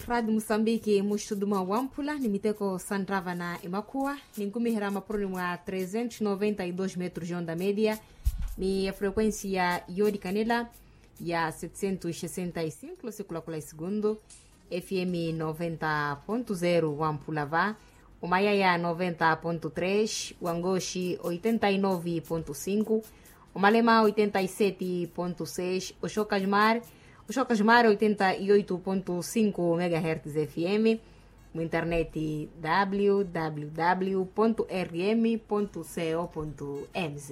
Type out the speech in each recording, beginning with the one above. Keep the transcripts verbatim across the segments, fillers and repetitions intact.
Radi musambiki muxituduma wamphula ni miteko santtava na emakhuwa, ninkumiherya mapuroni mwa trezentos noventa y dos metros de onda media, ni efrequencia yoolikanela ya setecentos sesenta y cinco losikulakula esigundu. Fm noventa ponto zero wamphula va, omayaya noventa ponto tres, wangoxi oitenta y nove ponto cinco, omalema oitenta y sete ponto seis, oxokajumar oxokajumar oitenta y oito ponto cinco megahertz fm. Muinternet, www rm co mz.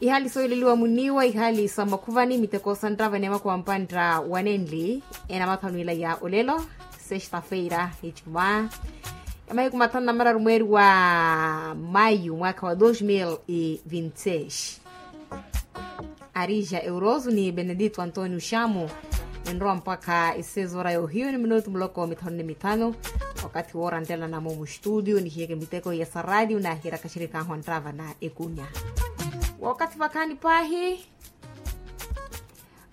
Ihali sooleliwa muniiwa ihali sa makhuvani miteko santtava ni emakhuwa mpantta wanenli. Enamathanu ila ya olelo, sexta-feira icuma, emahiku mathanu na mararu mweeri wa mayu mwaakha wa dos mil e vinte seis. Arija euroso ni benedito antonio xamo, enrowa mpakha esezora yohiyo ni minutu muloko mithanu ni mithanu. Wakathi wooranttela namo mustudio nihiyeke miteko ya saradio nahirakhaxerikhahu anttava na ekunya. Wakathi vakhaani paahi,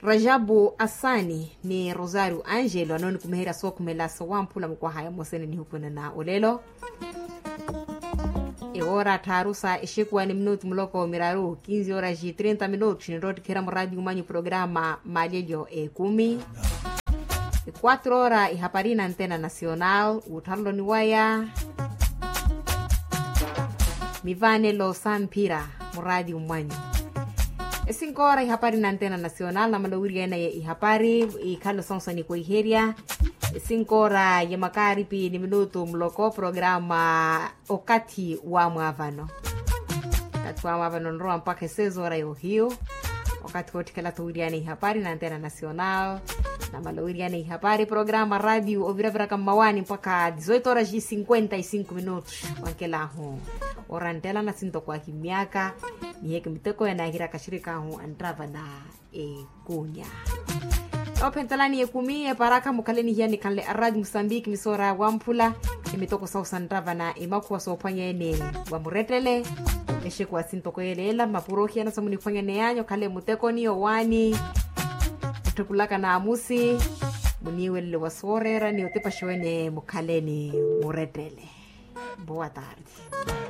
rajabu asani ni rosario angelo anoonikumiherya sookhumela sowamphula mukwahaya mosene nihukwene na olelo. Ewoora tthaaru sa exekuwa ni minutu muloko miraru kinzi horas e trinta minutos ninroottikherya muraadi umanyu programa malelyo ekumi. Quatro horas ihapari na antena nacional wutthareloni waya. Mivaanelo samphira muraadi umanyu. Esinkoora ihapari na antena nacional namala owiriyana ye ihapari. Ikhalo sonso nikwiherya. Esinkoora ya makaaripi ni minutu muloko programa okathi wa mwaavano. Okathi wa mwaavano nrowa mpakha esezoora yohiyu. Okathi wootthikela-tho owiriyana ihapari na antena nacional. Namala owiriyana ihapari programa radio oviraviraka mmawaani mpakha dizoito horas cinquenta y cinco minutos. Wankelahu oranttela nasintoko ahimyaka. Niheke miteko yanahiraka axirikaahu anttava na ekunya. Oophentelani ekumi eparakha mukhaleni hiya nikhanle araadi musambiki misoora wamphula. Emitoko sahu santtava na emakhuwa soophwanya ene wa murettele. Exekuwa sintoko yeleela mmapuro ohiyana samuniphwanya neyanyu okhale mutekoni owaani. Otthukulaka naamusi. Muniiwelele wa sooreera ni otipaxiwene mukhaleni murettele. Boa tarde.